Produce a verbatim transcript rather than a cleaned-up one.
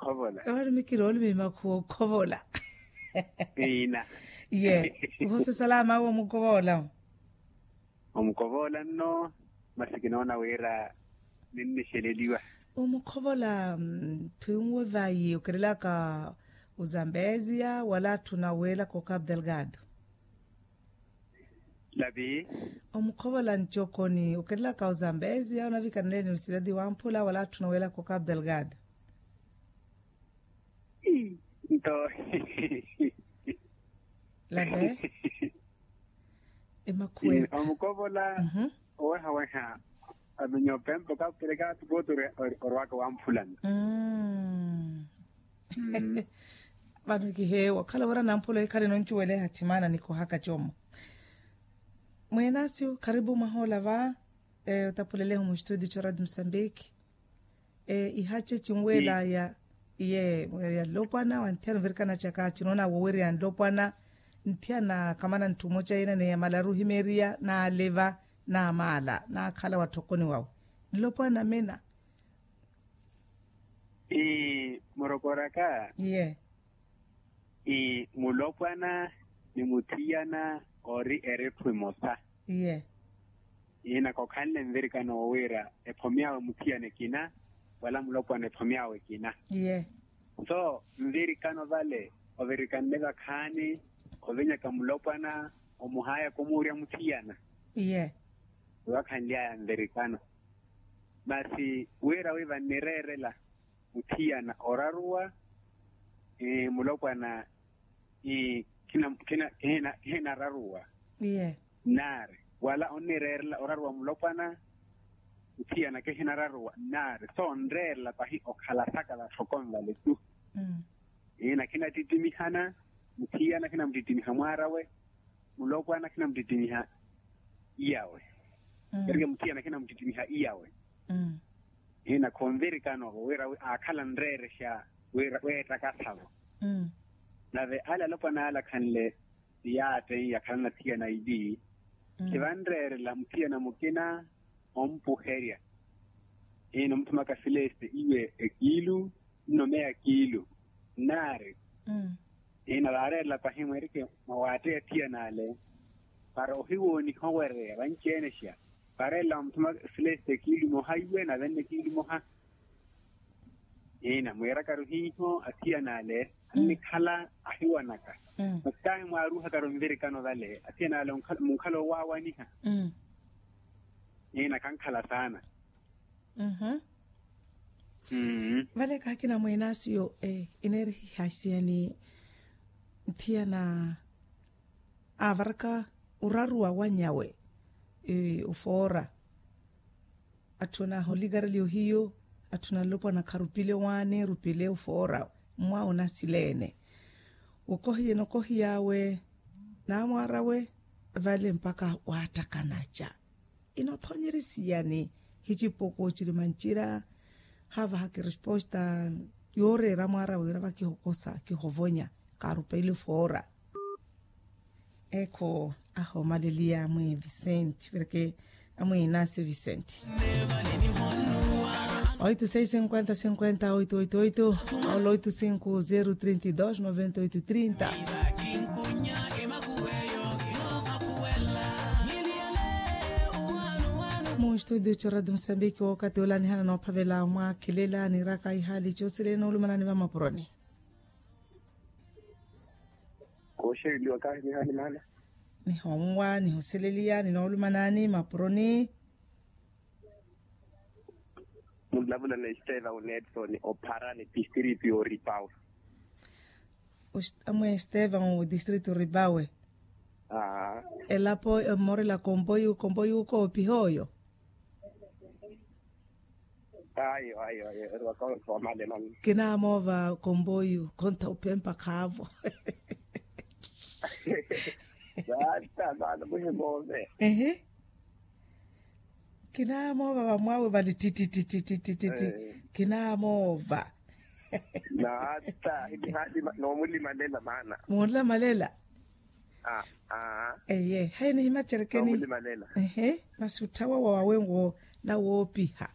Ovarumikiroolumi makhuwa okhovola. Iina. Ye. Uhosa salama awe omukovola. Omukovola nno. Masi kinoona wira ninnixeleliwa. Omukhovola. Phwinwe vayi okerelaka ozambeziya wala atthu na weelaka okapu delgado. Lapi. Omukhovola ncokoni okerelaka ozambeziya onavikaneleni osidadi wamphula wala atthu na weelaka okapu delgado. Nto. Lapi. Emakhuwekha omukovola. Owehaweha. Aminyo pempo kapeleka tupotu orwaka wamphulana. Vano kiheewa okhala wira namphula ekhale noncuweleha thimana nikohaka commo. Mweenasyo kharipu mwahoola va. Otapuleleho mustudio coradio musambiki. Ihache cinweela ya iye ya nlopwana wa nthiyana ovirikana caka cinoona wowerya nlopwana. Nthiyana kamana nttumo ca yina ni yamalaru ohimeriya naaliva naamaala naakhala watthokoni wawe. Nlopwana mina. Ii murokoraka. Iye. Ii mulopwana ni muthiyana ori eretthu emosa. Iye. Iina kokhanle nvirikano wo wira ephomi awe muthiyana ekina wala mulopwana ephomi awe ekina. Iye. So nvirikano vale ovirikanle vakhaani ovinyaka mulopwana omuhayaka omuurya muthiyana. Iye. Owakhanly'aya nvirikano. Masi wira wi vannireerela muthiyana oraruwa mulopwana. Kihinararuwa. Nnaari wala onnireerela oraruwa mulopwana. Muthiyana kihinararuwa nnaari so onreerela pahi okhala saka vatthokoni vale tu. Iina khinatittimihana. Muthiyana khinamuttittimiha mwaarawe. Mulopwana khinamuttittimiha iyawe. Erike muthiyana khinamuttittimiha iyawe. Iina khonvirikano vo wira aakhala nreerexa weettakasavo. Nave ale alopwana ale akhanle siyaatteiya akhalana thiyana ili. Khivanreerela muthiyana mukina ompuherya. Iina omuthumaka sileste iwe ekiilu nnomeya kiilu. Nnaari. Iina vaareerela pahi mwerike mwawaatteya thiyana ale para ohiwooniha owereya vanci-enexa. Vaareerela mwamuthuma sileste kiilu moha iwe nave nne kiilu moha. Iina mwiirakaru hiiho athiyana ale annikhala ahiwanaka. Masi tahi mwaaruhakaru nvirikano vale athiyana ale munkhala owaawaniha. Iina khankhala saana. Vale kaakina mweenasiyo. Ineerihiha isiyani nthiyana aavaraka oraruwa wanyawe ofoora. Atthu anaaha olikareliyo hiyo atthu na nlopwana kharupile owaani erupile ofoora. Mmwaawe onasileene wokohiyene okohiy'awe n'amwaar'awe vale mpakha waattakanaca. Inothonyerya siyani? Hicipuku ciri mancira haavahaka eresposta yooreera mwaara wira vakihokosa kihovonya kaarupeile foora. Ekho ahoomaleliya amwii vicente vireke amwii inasio vicente. Oito seis cinquenta cinquenta oito oito oito. Ola oito cinco zero trinta e dois noventa oito trinta. Mu studio co radio musambiki wookati ola nihana noophavela mwakhilela niraka ihaali coosile noolumanani vamapuroni. Kooxereliwa kahi nihaali maana. Nihommwa nihoseleliya ninoolumanani mapuroni. Munlavula na esteva unedson opharani district oripawe. Amwe esteva o district oripawe. Elapo emorela kompoyu kompoyu koopiha oyo. Ayo ayo ayo erwaka omalelani. Kinamoova kompoyu konta upempa khaavo. Vata vana muhimoove. Ehe. Kinamoova vamwaawe vali tititititititi. Kinamoova. Nata. Nomulimalela maana. Munlamalela. Eye hayi nihimacerekeni. Ehe. Masi utthawa wawe nwo nawoopiha.